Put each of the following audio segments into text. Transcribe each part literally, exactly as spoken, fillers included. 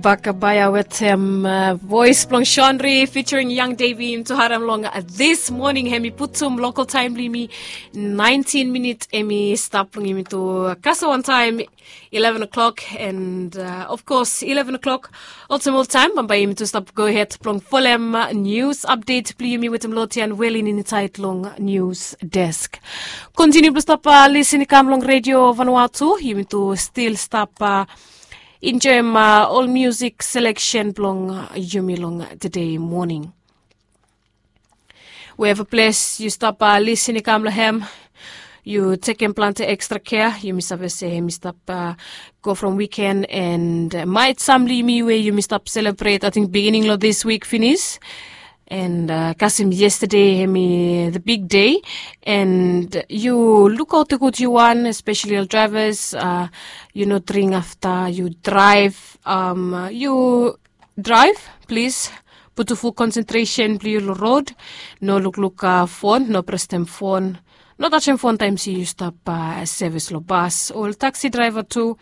Bakabaya wetem voes blong Shonri featuring Young Davy yumi tu harem long this morning. Hemi putum local time blong yumi nineteen minit hemi stap blong yumi tu kasem wan taem eleven o'clock, and uh, of course eleven o'clock. Olsem oltaem bambae yumi tu stap go ahead blong folem news update blong yumi wetem Lotian Welin insaed long news desk. Continue blong stap uh, listen i kam long Radio Vanuatu. Yumi tu still stap uh, enjoem uh, ol music selection blong uh, yumi long today morning. Wherever ples yu stap uh, listen i kam long hem, yu tekem plante extra care. Yumi save se hemi stap uh, go from weekend, and uh, maet sam blong yumi we yumi stap celebrate, I think, beginning long this week finish. And uh, kasem yesterday hemi the big day. And yu lukaot gud yu wan, especially ol drivers. Uh, yu no dring afta yu drive. Um, yu drive, plis putum ful concentration blong yu long rod. No lukluk uh, fon, no prestem fon. No tajem fon taem se yu stap uh, sevis long bas o taxi driver tu.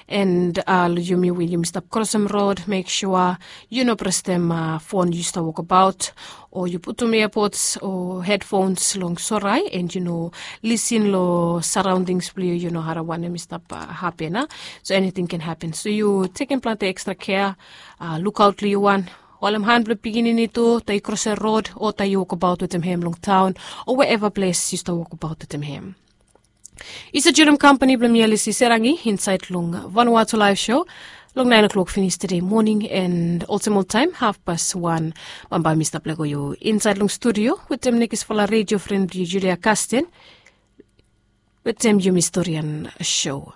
And uh, long yumi we yumi stap krosem rod, mek sua yu no prestem uh, fon yu stap wokbaot, o yu putum earpods o headphones long sorae, and yu no listen long surroundings blong yu, yu no harem wanem i stap uh, hapen. Uh. So anything can happen, so yu tekem plante extra care. Uh, lukaot long yu wan, holem han blong pikinini tu taem yu krosem rod o taem yu wokbaot wetem hem long taon, o wherever ples yu stap wokbaot wetem hem. Yu stap joenem kampani blong mi, Alice Serangi, insaed long Vanuatu Live Show long naen o'clock finish today morning, and olsem oltaem hafpas wan bambae mi stap lego yu insaed long studio wetem nekisfala radio fren blong yu, Julia Kasten, wetem yumi storian show.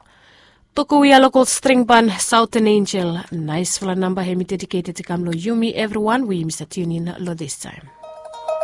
Tokowia lokol string ban Southern Angel, naesfala namba hemi dedicated i kam long yumi evriwan we yumi stap tunin long this time.